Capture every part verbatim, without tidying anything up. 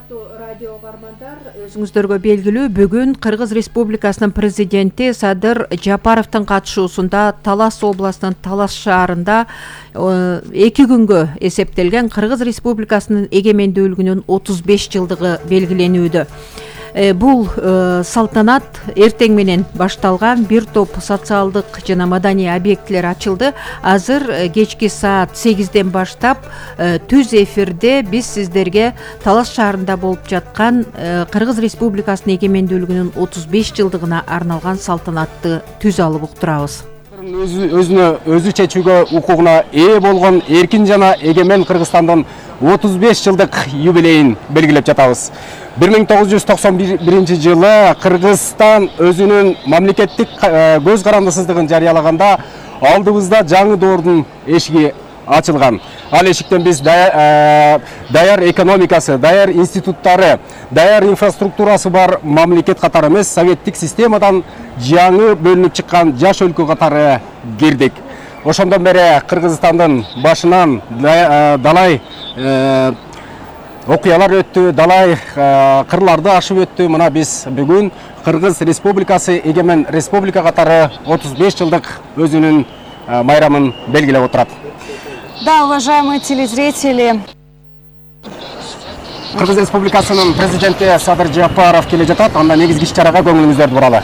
Урматтуу радио угармандар, өзүңүздөргө белгилүү бүгүн Кыргыз Республикасынын президенти Садыр Жапаровдун катышуусунда Талас областынын Талас шаарында эки күнгө эсептелген Кыргыз Республикасынын эгемендүүлүгүнүн отуз беш жылдыгы белгиленүүдө. Бул салтанат эртең менен башталган. Бир топ социалдык жана маданий объектилер ачылды. Азыр кечки саат сегизден баштап түз эфирде биз сиздерге Талас шаарында болуп жаткан Кыргыз Республикасынын эгемендүүлүгүнүн отуз беш жылдыгына арналган салтанатты түз алып уктурабыз. Өзүнө өзү чечүүгө укугуна ээ болгон эркин жана эгемен Кыргызстандын отуз беш жылдык юбилейин белгилеп жатабыз. бир миң тогуз жүз токсон биринчи жылы Кыргызстан өзүнүн мамлекеттик көз карандысыздыгын жарыялаганда алдыбызда жаңы доордун эшиги ачылган. Ал эшиктен биз даяр экономикасы, даяр институттары, даяр инфраструктурасы бар мамлекет катары эмес, советтик системадан жаңы бөлүнүп чыккан жаш өлкө катары кирдик. Ошондон бери Кыргызстандын башынан далай окуялар өттү, далай кырларды ашып өттү. Мына биз бүгүн Кыргыз Республикасы эгемен республика катары отуз беш жылдык өзүнүн майрамын белгилеп отурат. Да, уважаемые телезрители. Кыргыз Республикасынын президенти Садыр Жапаров келе жатат. Анда негизги иш-чарага көңүлүңүздөрдү буралы.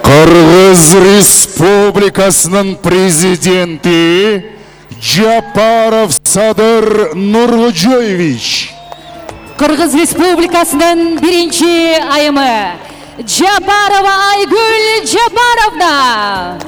Кыргыз Республикасынын президенти Жапаров Садыр Нуркожоевич. Кыргыз Республикасынын биринчи айымы Жапарова Айгүл Жапаровна.